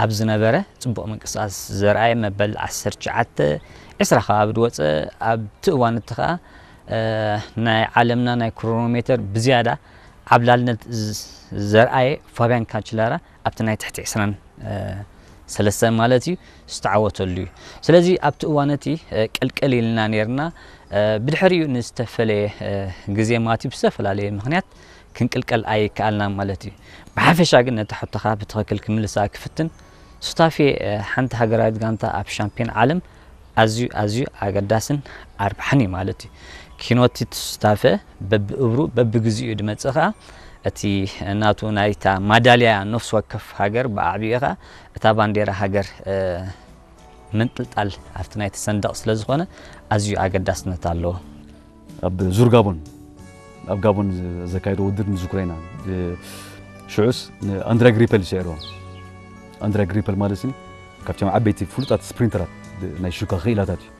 ኣብ ዝነበረ ጽቡቕ ምንቅስቃስ ዘርኣየ፣ መበል ዓሰርተ ትሽዓተ፣ ዕስራ ከባቢ ዝወጸ፣ ኣብቲ እዋን እቲ ኸኣ፣ እ፣ ናይ ዓለምና ናይ ክሮኖሜተር ብዝያዳ ዓብላልነት ዝ-፣ ዘርኣየ ፋብያን ካንችላራ ኣብቲ ናይ ትሕቲ ዕስራን ሰለስተን ማለት እዩ፣ ዝተዓወተሉ እዩ። ስለዚ ኣብቲ እዋን እቲ፣ እ፣ ቅልቅል ኢልና ነይርና። እ፣ ብድሕሪኡ ንዝተፈለየ፣ እ፣ ግዜ ማለት እዩ፣ ብዝተፈላለየ ምኽንያት ክንቅልቀል ኣይከኣልናን ማለት እዩ። ብሓፈሻ ግን ነታ ሕቶኻ ብትኽክል ክምልሳ ክፍትን፣ ሱታፌ፣ እ፣ ሓንቲ ሃገራዊት ጋንታ ኣብ ሻምፒዮን ዓለም ኣዝዩ፣ ኣዝዩ ኣገዳስን ኣርባሕን እዩ ማለት እዩ። ኪኖቲ ሱታፌ በብእብሩ በብግዚኡ ድመጽእ ኸኣ፣ እቲ ናቱ ናይታ ማዳልያ ነፍሲ ወከፍ ሃገር ብኣዕቢኡ ኸኣ እታ ባንዴራ ሃገር፣ እ፣ ምንጥልጣል ኣብቲ ናይቲ ሰንደቕ ስለ ዝኾነ ኣዝዩ ኣገዳስነት ኣለዎ። ኣብ ዙር ጋቦን፣ ኣብ ጋቦን ዘካየዶ ውድድር ንዝክሮ ኢና። እ፣ ሽዑስ ንኣንድሪያ ግሪፐል ይስዕርዎ። ኣንድሪያ ግሪፐል ማለት ስኒ ካብቶም ዓበይቲ ፍሉጣት ስፕሪንተራት ናይ ሹካ ክኢላታት እዩ።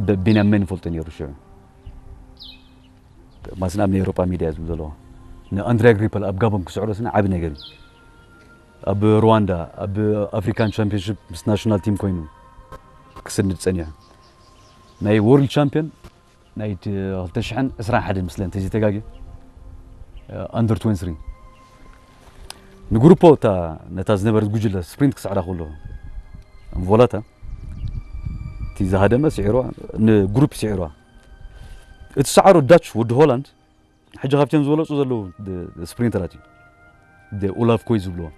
ብ-፣ ቢንያም መን ይፈልጦ ነይሩ ሽዑ? ማስን ኣብ ናይ ኤውሮጳ ሚድያ ዝብል ዘለዎ። ንኣንድሪያ ግሪፐል ኣብ ጋቦን ክስዕሮ ስኒ ዓቢ ነገር እዩ። ኣብ ሩዋንዳ፣ ኣብ ኣፍሪካን ቻምፒዮንሺፕ ምስ ናሽናል ቲም ኮይኑ ክስንድ ጸኒሑ። ናይ ወርልድ ቻምፒዮን ናይ ት-፣ ክልተ ሽሕን ዕስራን ሓደን ምስለ እንተዘይተጋግየ፣ ኣንደር ትወንቲ ስሪ። ንግሩፖ እታ፣ ነታ ዝነበረት ጉጅለ ስፕሪንት ክስዕራ ከሎ፣ ቮላታ፣ እቲ ዝሃደመ ስዒርዋ፣ ንግሩፕ ስዒርዋ። እቲ ሰዓሮ ዳች ወዲ ሆላንድ፣ ሕጂ ካብቶም ዝበለጹ ዘለዉ ድ-፣ ስፕሪንተራት እዩ። ድ-፣ ኡላፍ ኮይ ዝብልዎ፣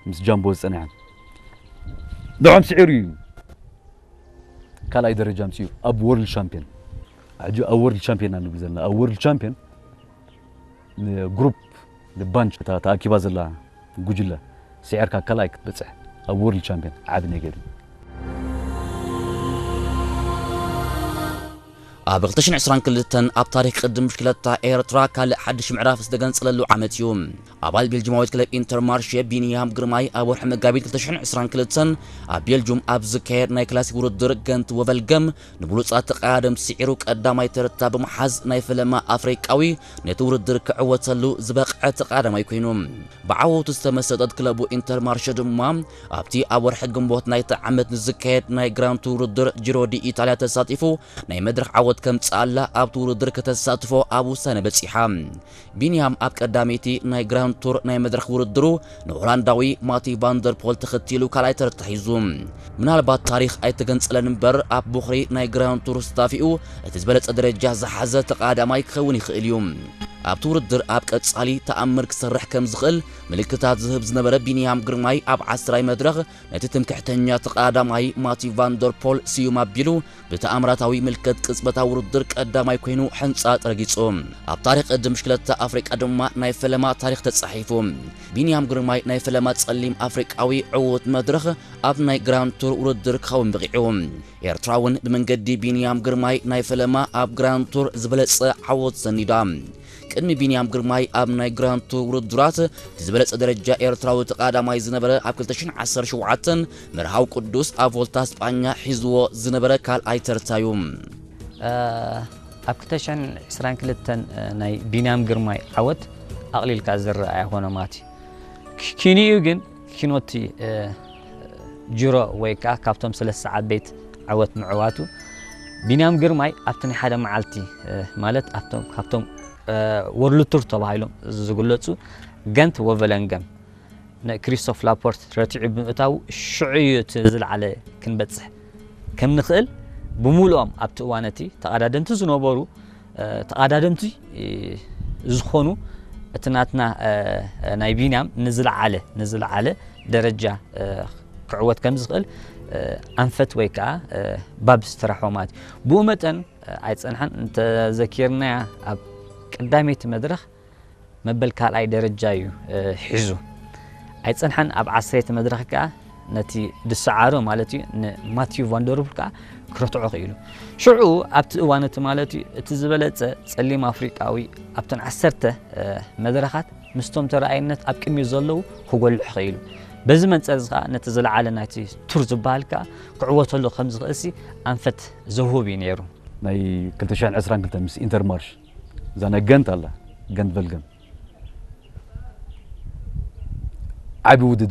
ምስ ጃምቦ ዝጸንሐ። ንዖም ስዒሩ እዩ። ካልኣይ ደረጃ ኣምጺኡ ኣብ ወርልድ ቻምፒዮን። ሕጂ ኣብ ወርልድ ቻምፒዮን ኢና ንብል ዘለና። ኣብ ወርልድ ቻምፒዮን ንግሩፕ፣ ንባንች እታ ተኣኪባ ዘላ ጉጅለ ስዒርካ ካልኣይ ክትበጽሕ ኣብ ወርልድ ቻምፒዮን ዓቢ ነገር እዩ። ኣብ ክልተ ሽሕን ዕስራን ክልተን ኣብ ታሪኽ ቅድም ብሽክለታ ኤርትራ ካልእ ሓድሽ ምዕራፍ ዝተገንጸለሉ ዓመት እዩ። ኣባል ቤልጅማዊት ክለብ ኢንተርማርሼ ቢንያም ግርማይ ኣብ ወርሒ መጋቢት ክልተ ሽሕን ዕስራን ክልተን ኣብ ቤልጁም ኣብ ዝካየድ ናይ ክላሲክ ውድድር ገንት ወቨልገም ንብሉጻት ተቐዳደምቲ ስዒሩ ቀዳማይ ተርታ ብምሓዝ ናይ ፈለማ ኣፍሪቃዊ ነቲ ውድድር ክዕወተሉ ዝበቕዐ ተቐዳዳማይ ኮይኑ። ብዓወቱ ዝተመሰጠት ክለቡ ኢንተርማርሸ ድማ ኣብቲ ኣብ ወርሒ ግንቦት ናይቲ ዓመት ንዝካየድ ናይ ግራንድ ቱር ውድድር ጂሮ ዲ ኢታልያ ተሳቲፉ ናይ መድረኽ ዓወት ከምጽኣላ ኣብቲ ውድድር ከተሳትፎ ኣብ ውሳነ በጺሓ። ቢንያም ኣብ ቀዳመይቲ ናይ ግራንድ ቱር ናይ መድረኽ ውድድሩ ንሆላንዳዊ ማቲ ቫንደርፖል ተኸቲሉ ካልኣይ ተርታ ሒዙ። ምናልባት ታሪኽ ኣይተገንጸለን እምበር ኣብ ቦኽሪ ናይ ግራንድ ቱር ስታፊኡ እቲ ዝበለጸ ደረጃ ዝሓዘ ተቐዳማይ ክኸውን ይኽእል እዩ። ኣብቲ ውድድር ኣብ ቀጻሊ ተኣምር ክሰርሕ ከም ዝኽእል ምልክታት ዝህብ ዝነበረ ቢንያም ግርማይ ኣብ ዓስራይ መድረኽ ነቲ ትምክሕተኛ ተቐዳዳማይ ማቲ ቫንደርፖል ስዩም ኣቢሉ ብተኣምራታዊ ምልክት ቅጽበታዊ ውድድር ቀዳማይ ኮይኑ ሕንጻ ረጊጹ። ኣብ ታሪኽ ቅድም ብሽክለታ ኣፍሪቃ ድማ ናይ ፈለማ ታሪኽ ተጻሒፉ። ቢንያም ግርማይ ናይ ፈለማ ጸሊም ኣፍሪቃዊ ዕዉት መድረኽ ኣብ ናይ ግራንድ ቱር ውድድር ክኸውን በቒዑ። ኤርትራ እውን ብመንገዲ ቢንያም ግርማይ ናይ ፈለማ ኣብ ግራንድ ቱር ዝበለጸ ዓወት ሰኒዳ። ቅድሚ ቢንያም ግርማይ ኣብ ናይ ግራንድ ቱር ውድድራት እቲ ዝበለጸ ደረጃ ኤርትራዊ ተቐዳማይ ዝነበረ ኣብ ክልተ ሽሕን ዓሰርተ ሸውዓተን መርሃዊ ቅዱስ ኣብ ቮልታ ስጳኛ ሒዝዎ ዝነበረ ካልኣይ ተርታ እዩ። እ፣ ኣብ ክልተ ሽሕን ዕስራን ክልተን፣ እ፣ ናይ ቢንያም ግርማይ ዓወት ኣቕሊልካ ዝረኣ ኣይኮነ ማቲ። ኪ-፣ ኪኒኡ ግን ኪኖቲ፣ እ፣ ጅሮ ወይ ከኣ ካብቶም ሰለስተ ዓበይቲ ዓወት ምዕዋቱ፣ ቢንያም ግርማይ ኣብቲ ናይ ሓደ መዓልቲ፣ እ፣ ማለት ኣብቶም፣ ካብቶም፣ እ፣ ወርልድ ቱር ተባሂሎም ዝግለጹ ገንት ወቨለንገም ንክሪስቶፍ ላፖርት ረቲዑ ብምእታዉ ሽዑ እዩ እቲ ዝለዓለ ክንበጽሕ ከም ንኽእል ብምሉኦም ኣብቲ እዋን እቲ ተቐዳደምቲ ዝነበሩ እ፣ ተቐዳደምቲ፣ እ፣ ዝኾኑ እቲ ናትና፣ እ፣ ናይ ቢንያም ንዝለዓለ፣ ንዝለዓለ ደረጃ፣ እ፣ ክዕወት ከም ዝኽእል፣ እ፣ ኣንፈት ወይ ከኣ፣ እ፣ ባብ ዝተራሕወ ማለት እዩ። ብኡ መጠን፣ እ፣ ኣይጸንሐን እንተዘኪርናያ ኣብ ቀዳመይቲ መድረኽ መበል ካልኣይ ደረጃ እዩ፣ እ፣ ሒዙ። ኣይጸንሐን ኣብ ዓሰርተ መድረኽ ከኣ ነቲ ድሰዓሮ ማለት እዩ ንማቲዩ ቫንደርቡል ከኣ ክረትዖ ክኢሉ። ሽዑ ኣብቲ እዋን እቲ ማለት እዩ እቲ ዝበለጸ ጸሊም ኣፍሪቃዊ ኣብተን ዓሰርተ፣ እ፣ መድረኻት ምስቶም ተረኣይነት ኣብ ቅድሚት ዘለዉ ክጎልሕ ክኢሉ። በዚ መንጸር እዚ ከኣ ነቲ ዝለዓለ ናይቲ ቱር ዝበሃል ከኣ ክዕወተሉ ከም ዝኽእልሲ ኣንፈት ዘውህብ እዩ ነይሩ። ናይ ክልተ ሽሕን ዕስራን ክልተን ምስ ኢንተርማርሽ እዛ ናይ ገንት ኣላ፣ ገንት ቨልገም። ዓቢ ውድድር